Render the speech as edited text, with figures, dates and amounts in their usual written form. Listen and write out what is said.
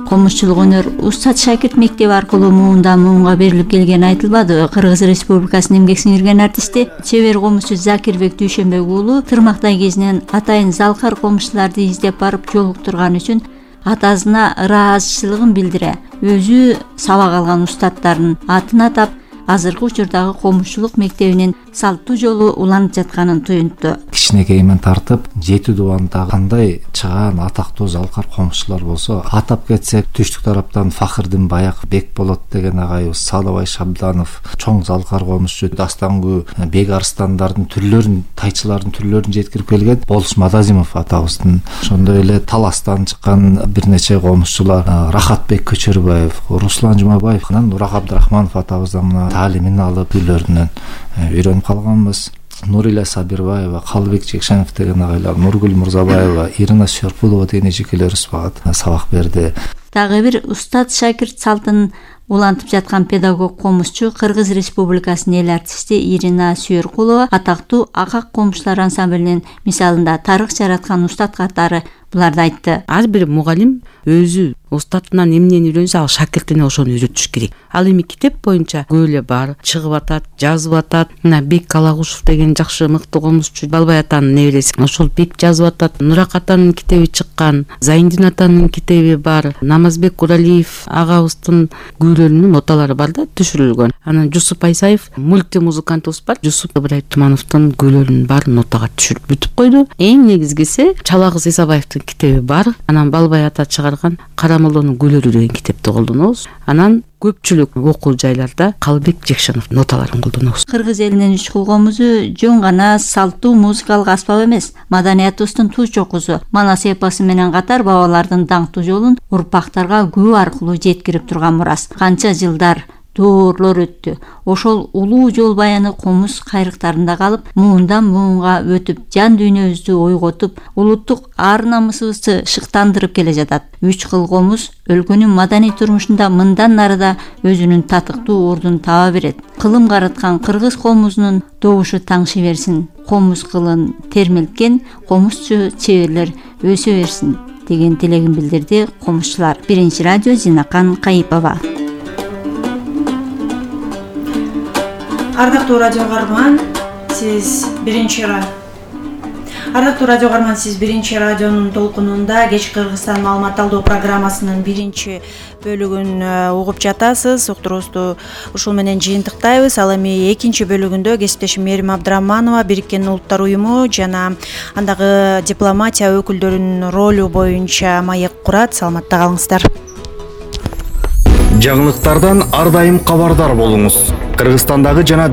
Комузчулук өнөр Устат Шакирт мектеби аркылуу муундан муунга берилип келгени айтылбады. Кыргыз Республикасынын эмгек сиңирген артисти, чебер комузчу Закирбек Дүйшөнбек уулу Тырмактай кезинен атайын залкар комузчуларды издеп барып жолуктурган үчүн атасына ыраазычылыгын билдире. Өзү сабак алган устаттардын атын атап, азыркы учурдагы комузчулук мектебинин салттуу жолу уланып жатканын туюнтту. Кичинекейимен тартып 7 дубанда кандай чыгаан атактуу залкар комузчулар болсо, атап кетсек түштүк тараптан Фахырдин Баяк, Бекболот деген агайыбыз, Салыбай Шабданов, чоң залкар комузчу, Дастангү, Бек Арстандардын түрлөрүн, тайчылардын түрлөрүн жеткирип келген Болуш Мадазимов атабыздын, ошондой эле Таластан чыккан бир нече комузчулар, Рахатбек Көчөрбаев, Руслан Жумабаев, Нурак Абдрахманов атабыздан таалимин алып үйлөрүнөн үйрөнүп калганбыз. Нурила Сабирбаева, Калыбек Жекшенов деген агайлар, Нургүл Мурзабаева, Ирина Сёрпулова деген эжекелерибиз сабак берди. Дагы бир Устат Шакирт салтын улантып жаткан педагог комузчу Кыргыз Республикасынын эл артисти Ирина Сёркулова атактуу Акак комузчулар ансамблинин мисалында тарых жараткан устат катары буларды айтты. Ар бир мугалим өзү устатынан эмнени үйрөнсө, ал шакиртине ошону үйрөтүш керек. Ал эми китеп боюнча көп эле бар, чыгып атат, жазып атат. Мына Бек Калагушев деген жакшы мыкты комузчу, Балбай атанын небереси. Ошол Бек жазып атат. Нурак атанын китеби чыккан, Зайындин атанын китеби бар, Намазбек Куралиев агабыздын күйлөрүнүн ноталары бар да, түшүрүлгөн. Анан Жусуп Айсаев мультимузыкантыбыз бар, Жусуп Ыбырай Тумановдун күйлөрүнүн баарын нотага түшүрүп бүтүп койду. Эң негизгиси Чалагыз Исабаевдин китеби бар. Анан Балбай ата чыгарган Карамолдонун күйлөрү деген китепти колдонобуз. Анан көпчүлүк окуу жайларда Калыбек Жекшенов ноталарын колдонобуз. Кыргыз элинин үч кул комузу жөн гана салттуу музыкалык аспап эмес, маданиятыбыздын туз чокусу, манас эпосу менен катар бабалардын даңктуу жолун урпактарга күбө аркылуу жеткирип турган мурас. Канча жылдар доорлор өттү. Ошол улуу жол баяны комуз кайрыктарында калып, муундан муунга өтүп, жан дүйнөбүздү ойготуп, улуттук ар намысыбызды шыктандырып келе жатат. Үч кыл комуз өлкөнүн маданий турмушунда мындан нарыда өзүнүн татыктуу ордун таба берет. Кылым карыткан кыргыз комузунун добушу таңшы берсин. Комуз кылын термелткен комузчу чеберлер өсө берсин деген тилегин билдирди комузчулар. Биринчи радио Зинакан Кайыпова. Ардактуу радио каарман, сиз биринчи радионун толкунунда Кеч Кыргызстан маалымат алуу программасынын биринчи бөлүгүн угуп жатасыз. Уктуруубузду ушул менен жыйынтыктайбыз. Ал эми экинчи бөлүгүндө кесиптешим Мерим Абдыраманова Бириккен Улуттар Уюму жана андагы дипломатия өкүлдөрүнүн ролу боюнча маек курат. Саламатта калыңыздар. Жаңылыктардан ар дайым кабардар болуңуз. Кыргызстандагы жана